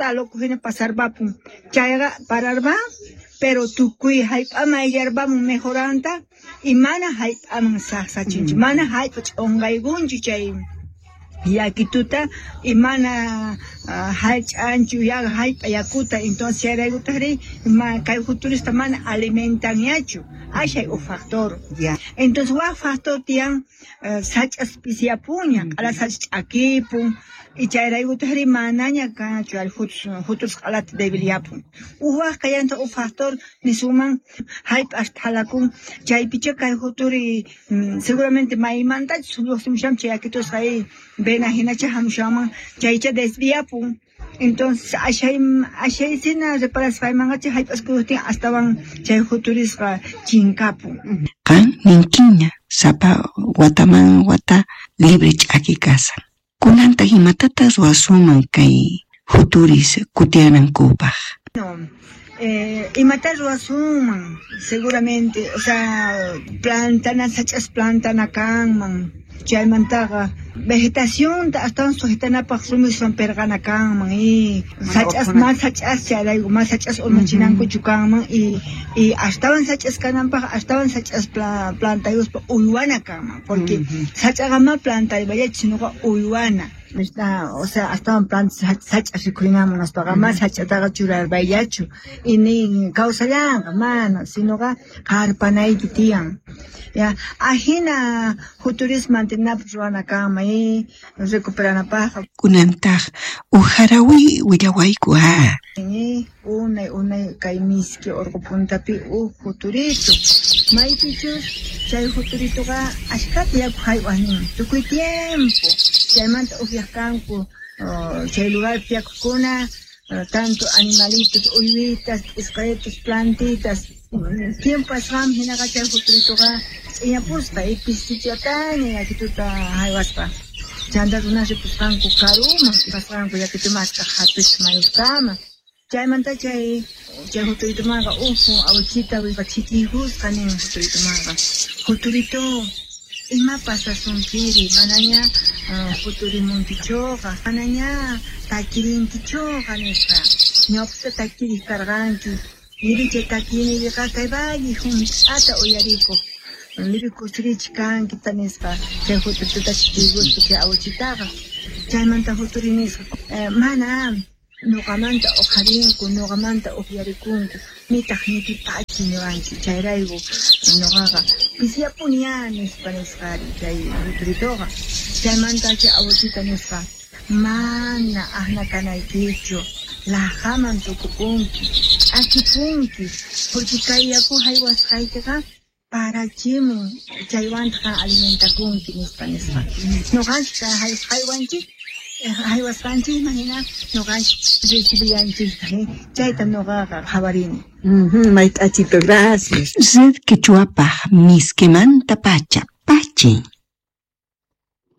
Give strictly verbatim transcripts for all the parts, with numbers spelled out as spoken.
Uqta loco hina pasarpapun. Chayqa pararpan, pero tukuy hallp'aman ayllarpamun mejoranta y mana hallp'aman saqsachinchu, mana hallp'a ch'unqaykunchu chay yakituta y mana hallch'anchu hallp'a yakuta. Entonces chayraykutaqri kay juturista mana alimentanñachu. Ashay huk factor. Ya. Entonces wak factor tiyan sach'as pisiyapunña, q'ala sach'a ch'akipun y chayraykutaqri manaña kanchu juturus q'alata debilyapun. Huk wak kallantaq huk factor nisunman hallp'as thalakun chaypicha kay juturi seguramente maymantachus lluqsimushanman chay yakitusqa vena hinacha hamushanman chaycha desviapun. Entonces ashay ashaysina reparasqaymanqa chay hallp'as kuyuqtin astawan chay juturisqa chinkapun. Qan ninkiña sapa wataman wata libre ch'aki kasan. Kunantaq imatataq ruwasunman kay juturis kutiyanankupaq? No, eh, imata ruwasunman seguramente, o sea, plantana sach'as plantana kanman. Chaymantaqa vegetacionta astawan sujetanapaq rumiswan pirqana kanman y sach'as mas sach'as chayrayku mas sach'as urmachinankuchu kanman y y astawan sach'as kananpaq astawan sach'as plantayuspa uywana kanman porque sach'aqa ma plantaypallachu sinoqa uywana. O sea, astawan planta sach'as rikhurinanman nispaqa ma sach'ataqa churarpayllachu y nin kawsallanqa mana sinoqa qarpanayki tiyan. Ya, ajina juturis mantenapaq ruwana kanman y recuperanapaqqa. Kunantaq huk harawi willawayku a. Unay unay kay miski urqu puntapi huk juturito maypichus chay juturitoqa ashkhata yaku haywaq nin tukuy tiempo chaymanta upyaq kanku chay lugarpi yakukuna tanto animalitos uywitas p'isqaritos plantitas tiempo pasqanman hinaqa chay juturitoqa ch'iñapusqa y pisichataña yakituta haywaspa chanta runas ripusqanku karuman pasqanku yakitu mask'aq hatuchik mayuskama. Chaymanta chay chay juturitumanqa huk awichita ch'ikiykusqa nin juturitumanqa juturito ima pasasunkiri manaña juturimunkichuqa manaña takirinkichuqa nispa ñawpaqta takiriq karqanki iri chay takiynikiqa kay valle hunt'ata uyarikuq libre kusirichik kanki nispa chay juturituta ch'ikiykuspa chay awichitaqa chaymanta juturi nisqa mana nuqamanta uqharinku nuqamanta upyarikunku nitaq nipipachi niwanchu chayrayku nuqaqa pisiyapuni ya nispa nisqari chay juturituqa chaymanta chay awichita nispa mana aqna kanaykichu laqhaman tukupunki ch'akipunki porque kay yaku haywasqaykiqa parachimun chaywantaq alimentakunki nispa nispa nuqanchik haywanchik haywasqanchikman hina nuqanchik recibillanchiktaq chayta nuqaqa qhawarini. Mayt'achito, gracias. Red Quechuapaq miskimanta pacha pachi.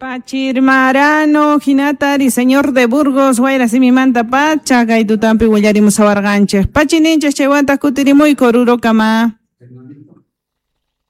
Pachirmarano, hinatari, señor de Burgos, wayra simimanta pacha, kay tutampi willarimusawarqanchik. Pachi ninchik chaywantaq kutirimuy korurokama.